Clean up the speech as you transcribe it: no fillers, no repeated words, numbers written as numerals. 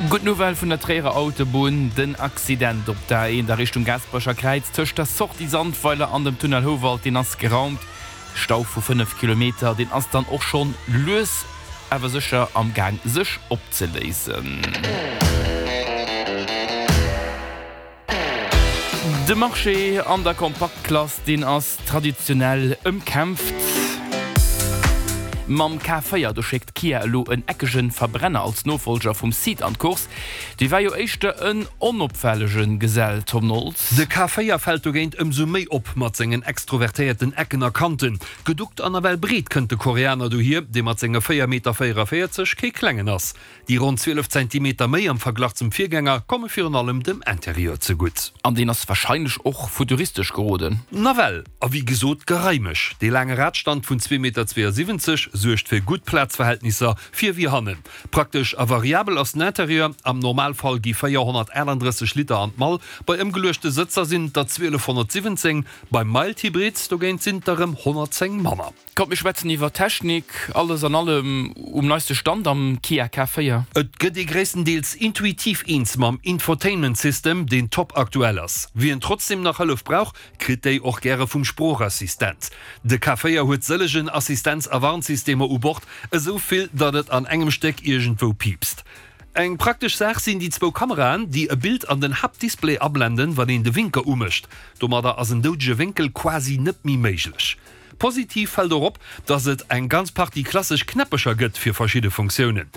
Gutt Nouvelle vun der Tréierer Autobunn, Den Accident op der A1 a Richtung Gaasperecher Kräiz tëscht der Sortie Sandweiler an dem Tunnel Houwald, deen ass geraumt. Stau vu 5 Kilometer, deen ass dann och schonn lues awer sécher am Gaang sech opzeléisen. De Marché an der Kompaktklass, deen ass traditionell ëmkämpft. Mam K4, do schéckt Kia elo en eckege Verbrenner als Nofollger vum Ceed an d'Course. Dee war jo éischter en onopfällege Gesell, Tom Noltz. De K4 fält dogéint ëmsou méi op mat sengen extrovertéierten Ecken a Kanten. Geduckt an nawell breet kënnt de Koreaner dohier, dee mat senge 4 Meter 44 kee klengen ass. Déi ronn 12 Zentimeter méi am Verglach zum Virgänger komme virun allem dem Interieur zegutt. An deen ass warscheinlech och futuristesch geroden. Nawell, a wéi gesot gereimeg. Dee laange Radstand vun 2,72 Meter suergt fir gutt Plazverhältnisser vir wéi hannen. Praktesch a variabel ass den Interieur, am Normalfall gi 438 Liter an d'Mall, bei ëmgeluechte Sëtzer sinn et der 1217, beim Mild Hybrid dogéint sinn et der erëm 110 manner. Kommt mir schwätzen iwwer Technik, alles an allem um neiste Stand am Kia K4. Et gëtt ee gréisstendeels intuitiv eens mam Infotainment System, deen top aktuell ass. Wien trotzdem nach Hëllef brauch, kritt déi och gäre vum Sproochassistent. De K4 huet sëllegen Assistenz a Warnsystemer u Bord, esou vill, datt et an engem Stéck iergendwou piipst. Eng praktesch Saach sinn déi zwou Kameraen, déi e Bild an den Haaptdisplay ablenden, wann een de Winker umécht. Domadder ass en doudege Wénkel quasi net méi méiglech. Positiv fält och op, dass et eng ganz Partie klassesch Knäppecher gëtt fir verschidde Funktiounen.